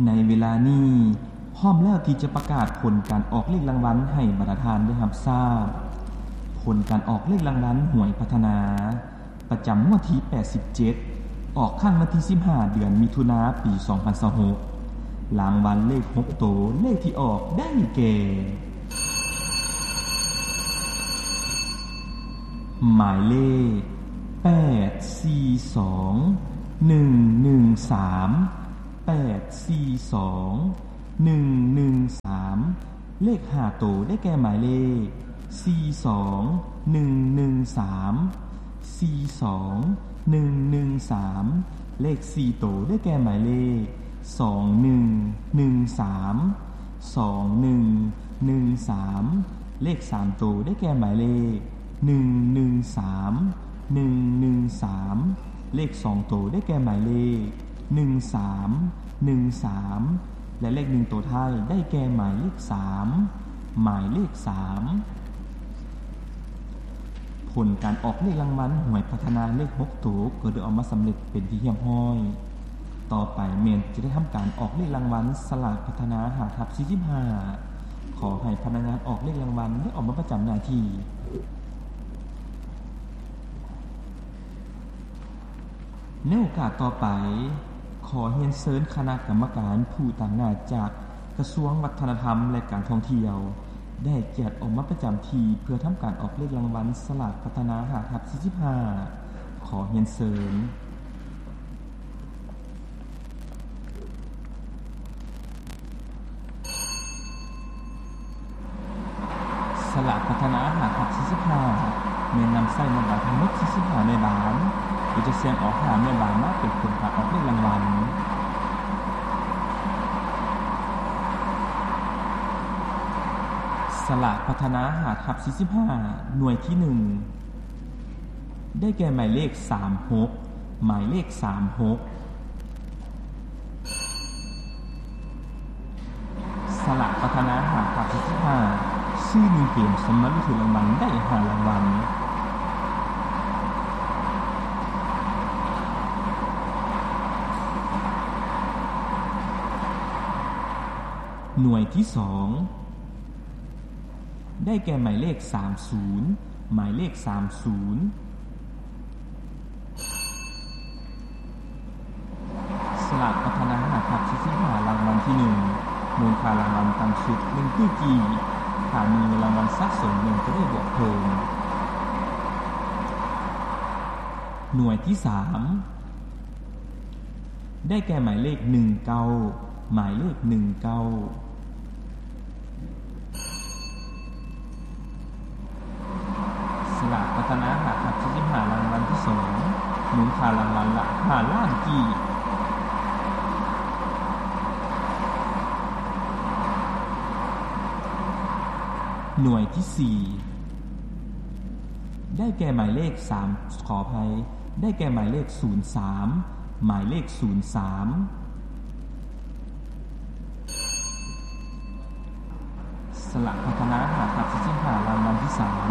ໃນເວລານີ້ ພ້ອມແລ້ວທີ່ຈະປະກາດຜົນການອອກເລກລາງວັນໃຫ້ບັນດາທ່ານໄດ້ຮັບຊາບ. ຜົນການອອກເລກລາງວັນຫວຍພັດທະນາ ປະຈຳງວດທີແປດສິບເຈັດ ອອກຄັ້ງວັນທີສິບຫ້າ ເດືອນມິຖຸນາ ປີສອງພັນຊາວຫົກ. ລາງວັນເລກຫົກໂຕ ເລກທີ່ອອກໄດ້ແກ່ ໝາຍເລກ ແປດສີ່ສອງ ໜຶ່ງໜຶ່ງສາມ ແປດສີ່ສອງ ໜຶ່ງໜຶ່ງສາມ. ເລກຫ້າໂຕ ໄດ້ແກ່ໝາຍເລກ ສີ່ສອງ ໜຶ່ງໜຶ່ງສາມ ສີ່ສອງ ໜຶ່ງໜຶ່ງສາມ. ເລກສີ່ໂຕ ໄດ້ແກ່ໝາຍເລກ ສອງໜຶ່ງ ໜຶ່ງສາມ ສອງໜຶ່ງ ໜຶ່ງສາມ. ເລກສາມໂຕ ໄດ້ແກ່ໝາຍເລກ ໜຶ່ງໜຶ່ງສາມ ໜຶ່ງໜຶ່ງສາມ. ເລກສອງໂຕ ໄດ້ແກ່ໝາຍເລກ ໜຶ່ງສາມ ໜຶ່ງສາມ ແລະ ເລກໜຶ່ງໂຕທ້າຍ ໄດ້ແກ່ໝາຍເລກສາມ ໝາຍເລກສາມ. ຜົນການອອກເລກລາງວັນຫວຍພັດທະນາເລກຫົກໂຕ ກໍໄດ້ອອກມາສຳເລັດເປັນທີ່ຮຽບຮ້ອຍ. ຕໍ່ໄປແມ່ນຈະໄດ້ທຳການອອກເລກລາງວັນສະຫຼາກພັດທະນາຫ້າທັບສີ່ສິບຫ້າ. ຂໍໃຫ້ພະນັກງານອອກເລກລາງວັນໄດ້ອອກມາປະຈຳໜ້າທີ່. ໃນໂອກາດຕໍ່ໄປ, ຂໍຮຽນເຊີນຄະນະກຳມະການຜູ້ຕາງໜ້າຈາກກະຊວງວັດທະນະທຳ ແລະ ການທ່ອງທ່ຽວ ໄດ້ກຽດອອກມາປະຈຳທີ່ເພື່ອທຳການອອກເລກລາງວັນສະຫຼາກພັດທະນາຫ້າທັບສີ່ສິບຫ້າ. ຂໍຮຽນເຊີນ. ສະຫຼາກພັດທະນາຫ້າທັບສີ່ສິບຫ້າ ແມ່ນນຳໃຊ້ແມ່ບານທັງໝົດສີ່ສິບຫ້າແມ່ບານ ໂດຍຈະສ່ຽງເອົາຫ້າແມ່ບານມາເປັນຜົນການອອກເລກລາງວັນ. ສະຫຼາກພັດທະນາຫ້າທັບສີ່ສິບຫ້າ ໜ່ວຍທີໜຶ່ງ ໄດ້ແກ່ໝາຍເລກສາມຫົກ ໝາຍເລກສາມຫົກ. ສະຫຼາກພັດທະນາຫ້າທັບສີ່ສິບຫ້າ ຊື້ໜຶ່ງເກມ ສາມາດລຸ້ນຖືກລາງວັນໄດ້ຫ້າລາງວັນ. ໜ່ວຍທີສອງ ໄດ້ແກ່ໝາຍເລກສາມສູນ ໝາຍເລກສາມສູນ. ສະຫຼາກພັດທະນາຫ້າທັບສີ່ສິບຫ້າ ລາງວັນທີໜຶ່ງ ມູນຄ່າລາງວັນຕ່ຳສຸດໜຶ່ງຕື້ກີບ, ຖ້າມີເງິນລາງວັນສະສົມແມ່ນຈະໄດ້ບວກເພີ່ມ. ໜ່ວຍທີສາມ ໄດ້ແກ່ໝາຍເລກໜຶ່ງເກົ້າ ໝາຍເລກໜຶ່ງເກົ້າ. ສະຫຼາກພັດທະນາຫ້າທັບສີ່ສິບຫ້າ ລາງວັນທີສອງ ມູນຄ່າລາງວັນລະຫ້າລ້ານກີບ. ໜ່ວຍທີສີ່ ໄດ້ແກ່ໝາຍເລກສາມ ຂໍອະໄພ ໄດ້ແກ່ໝາຍເລກສູນສາມ ໝາຍເລກສູນສາມ. ສະຫຼາກພັດທະນາຫ້າທັບສີ່ສິບຫ້າ ລາງວັນທີສາມ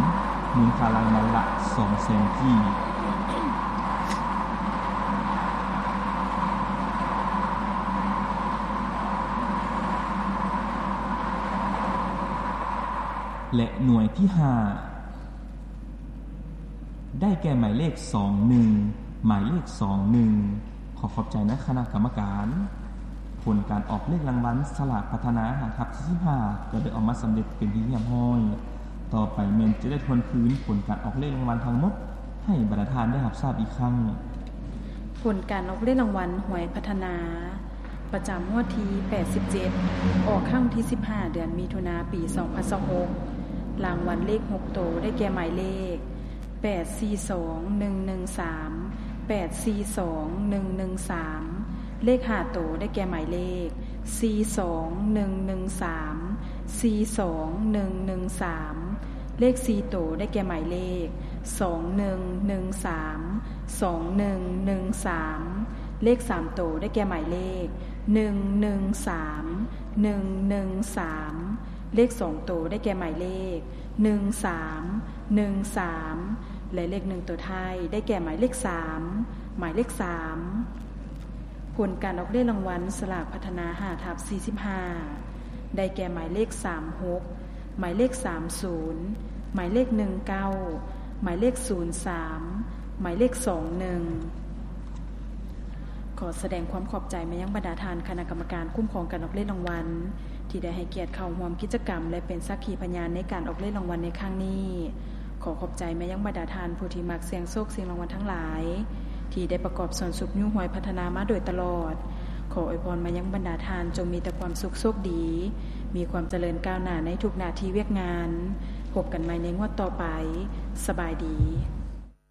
ມູນຄ່າລາງວັນລະສອງແສນກີບ. ແລະ ໜ່ວຍທີຫ້າ ໄດ້ແກ່ໝາຍເລກສອງໜຶ່ງ ໝາຍເລກສອງໜຶ່ງ. ຂໍຂອບໃຈນະຄະນະກຳມະການ. ຜົນການອອກເລກລາງວັນສະຫຼາກພັດທະນາຫ້າທັບສີ່ສິບຫ້າ ກໍໄດ້ອອກມາສຳເລັດເປັນທີ່ຮຽບຮ້ອຍ. ຕໍ່ໄປແມ່ນຈະໄດ້ທວນຄືນຜົນການອອກເລກລາງວັນທັງໝົດໃຫ້ບັນດາທ່ານໄດ້ຮັບຊາບອີກຄັ້ງ. ຜົນການອອກເລກລາງວັນຫວຍພັດທະນາ ປະຈຳງວດທີແປດສິບເຈັດ ອອກຄັ້ງທີສິບຫ້າ ເດືອນມິຖຸນາ ປີສອງພັນຊາວຫົກ. ລາງວັນເລກຫົກໂຕ ໄດ້ແກ່ໝາຍເລກ ແປດສີ່ສອງໜຶ່ງໜຶ່ງສາມ ແປດສີ່ສອງໜຶ່ງໜຶ່ງສາມ. ເລກຫ້າໂຕ ໄດ້ແກ່ໝາຍເລກ ສີ່ສອງໜຶ່ງໜຶ່ງສາມ ສີ່ສອງໜຶ່ງໜຶ່ງສາມ. ເລກສີ່ໂຕ ໄດ້ແກ່ໝາຍເລກ ສອງໜຶ່ງໜຶ່ງສາມ ສອງໜຶ່ງໜຶ່ງສາມ. ເລກສາມໂຕ ໄດ້ແກ່ໝາຍເລກ ໜຶ່ງໜຶ່ງສາມ ໜຶ່ງໜຶ່ງສາມ. ເລກສອງໂຕ ໄດ້ແກ່ໝາຍເລກ ໜຶ່ງສາມ ໜຶ່ງສາມ ແລະ ເລກໜຶ່ງໂຕທ້າຍ ໄດ້ແກ່ໝາຍເລກສາມ ໝາຍເລກສາມ. ຜົນການອອກເລກລາງວັນສະຫຼາກພັດທະນາ ຫ້າທັບສີ່ສິບຫ້າ ໄດ້ແກ່ ໝາຍເລກ ສາມຫົກ, ໝາຍເລກ ສາມສູນ, ໝາຍເລກ ໜຶ່ງເກົ້າ, ໝາຍເລກ ສູນສາມ, ໝາຍເລກ ສອງໜຶ່ງ. ຂໍສະແດງຄວາມຂອບໃຈມາຍັງບັນດາທ່ານຄະນະກຳມະການຄຸ້ມຄອງການອອກເລກລາງວັນ ທີ່ໄດ້ໃຫ້ກຽດເຂົ້າຮ່ວມກິດຈະກຳ ແລະ ເປັນສັກຂີພະຍານໃນການອອກເລກລາງວັນໃນຄັ້ງນີ້. ຂໍຂອບໃຈມາຍັງບັນດາທ່ານຜູ້ທີ່ມັກສ່ຽງໂຊກສ່ຽງລາງວັນທັງຫຼາຍ ທີ່ໄດ້ປະກອບສ່ວນຊຸກຍູ້ຫວຍພັດທະນາມາໂດຍຕະຫຼອດ. ຂໍອວຍພອນມາຍັງບັນດາທ່ານຈົ່ງມີແຕ່ຄວາມສຸກໂຊກດີ, ມີຄວາມຈະເລີນກ້າວໜ້າໃນທຸກໜ້າທີ່ວຽກງານ. ພົບກັນໃໝ່ໃນງວດຕໍ່ໄປ. ສະບາຍດີ.